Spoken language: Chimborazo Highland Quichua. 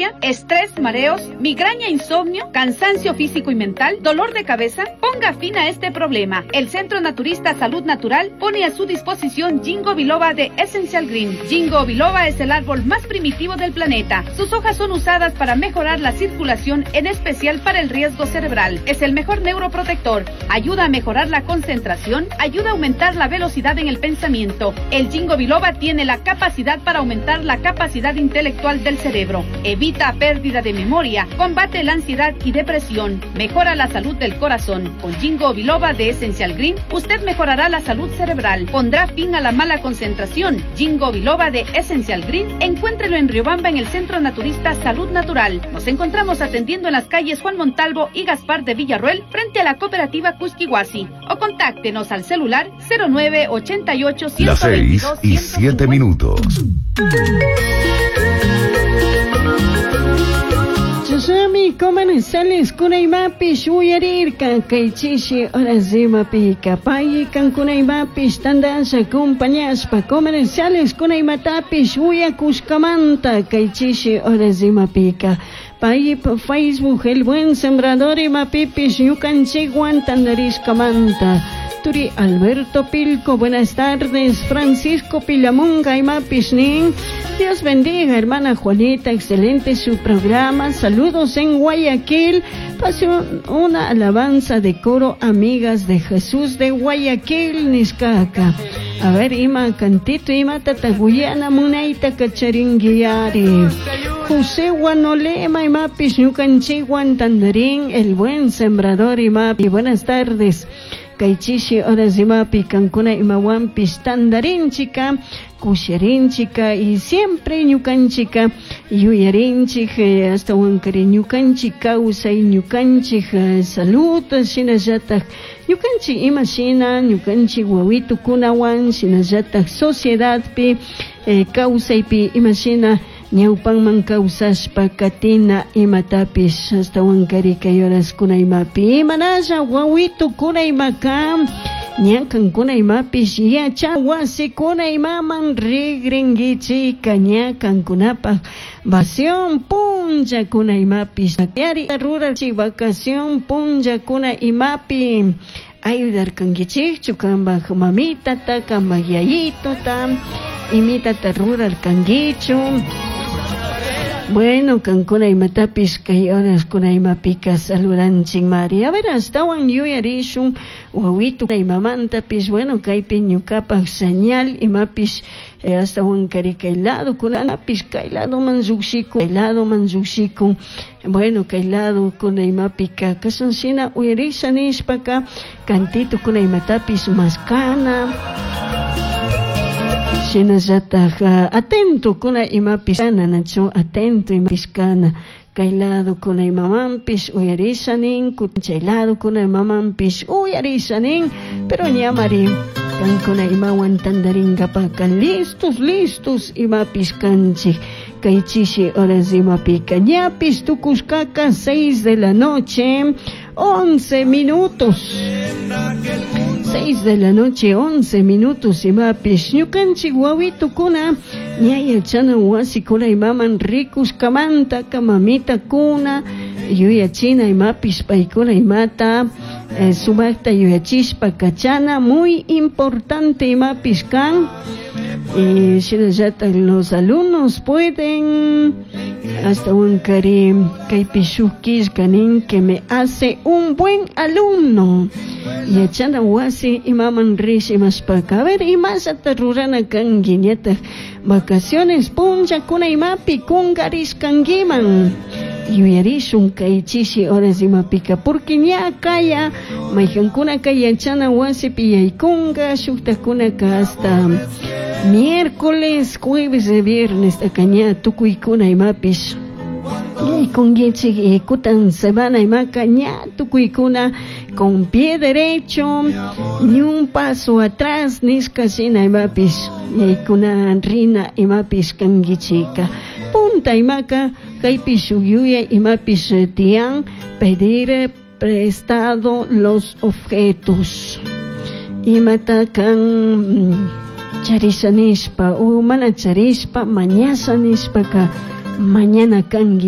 Hipertensia, estrés, mareos, migraña, insomnio, cansancio físico y mental, dolor de cabeza. Ponga fin a este problema. El Centro Naturista Salud Natural pone a su disposición Jingo Biloba de Essential Green. Jingo Biloba es el árbol más primitivo del planeta. Sus hojas son usadas para mejorar la circulación, en especial para el riesgo cerebral. Es el mejor neuroprotector. Ayuda a mejorar la concentración, ayuda a aumentar la velocidad en el pensamiento. El Jingo Biloba tiene la capacidad para aumentar la capacidad intelectual del cerebro. Evita pérdida de memoria, combate la ansiedad y depresión, mejora la salud del corazón. Con Jingo Biloba de Essential Green, usted mejorará la salud cerebral, pondrá fin a la mala concentración. Jingo Biloba de Essential Green, encuéntrelo en Riobamba en el Centro Naturista Salud Natural. Nos encontramos atendiendo en las calles Juan Montalvo y Gaspar de Villarruel, frente a la cooperativa Cusquihuasi. O contáctenos al celular 0988 Las 6 y 7 minutos. Chasami comerciales kunaymapish uyarirka kay chishi horas imapika pay kankunaymapish tandasha acompañashpa comerciales kunaymatapish uyakushkamanta kay chishi horas imapika pay Facebook El Buen Sembrador imapipish ñukanchikwan tandarishkamanta. Turi Alberto Pilco, buenas tardes. Francisco Pilamunga, imapish nin. Dios bendiga, hermana Juanita, excelente su programa. Saludos en Guayaquil. Pase una alabanza de coro, amigas de Jesús de Guayaquil, Niscaca. A ver, ima cantito, ima tataguyana, munaita cacharinguiari. José Guanolema, imapis, ñukanchikwan tandarín, el buen sembrador, imapi. Buenas tardes. Kay chishi horas imapi kankuna imawanpish tandarinchika, kusharinchika y siempre ñukanchika yuyarinchik, hasta wankari ñukanchik kawsay, ñukanchik salud, shinallatak ñukanchik ima shina, ñukanchik wawitukunawan, shinallatak sociedadpi, kawsaypi ima shina ñawpanman kawsashpa katina imatapish hasta wankari kay horaskuna imapi imanalla wawitukuna imaka ña kankuna imapish yacha wasikuna imaman rigrinkichika ña kankunapaj vacación punllakuna imapish yari rurachik vacación punllakuna imapi ayudarkankichikchu kanpaj mamitata kanpaj yayituta imitata rurarkankichu. Bueno, kankuna imatapish kay horaskuna imapika saludanchik Mari. A ver, astawan yuyarishun wawitu imamantapish, bueno, kaypi ñukapaj señal imapish, astawan kari kay lado kunapish kay ladoman lluqshikun, kay ladoman lluqshikun. Bueno, kay lado kuna imapika kashan shina uyarisha nishpaka cantito kuna imatapish maskana. Shinallataj atento kuna imapish kana, nachu atento imapish kana. Kay lado kuna imamanpish uyarisha nin, chay lado kuna imamanpish uyarisha nin, pero ñamari kankuna imawan tandarinkapaka listos, listos imapish kanchik. Kay chishi horas imapika ñapish tukushkaka 6 de la noche, 11 minutos. 6 de la noche, 11 minutos imapish ñukanchik wawitukuna ña yachana wasikuna imaman rikushkamanta kamamitakuna yuyachina imapish paykuna imata, sumakta yuyachishpa kachana muy importante imapish kan. Shinallatak los alumnos pueden hasta un kari kaypi shuk killka nin que me hace un buen alumno. Yachana wasi imaman rish imashpaka. A ver, imashata rurana kanki ñatak vacaciones punllakuna imapi kunkarishkankiman. Yuyarishun kay chishi horas imapika porque ña kaya maykankunaka yachana wasipi yaykunka shuktakunaka hasta miércoles, jueves y viernes taka ña tukuykuna imapish yaykunkichik y kutan semana imaka ña tukuykuna con pie derecho ni un paso atrás nishka shina imapish yaykuna rina imapish kankichika. Punta imaka kaypi shuk yuyay imapish tiyan pedir prestado los objetos. Imata kan charisha nishpa o mana charishpa mañasha nishpaka mañana kanki.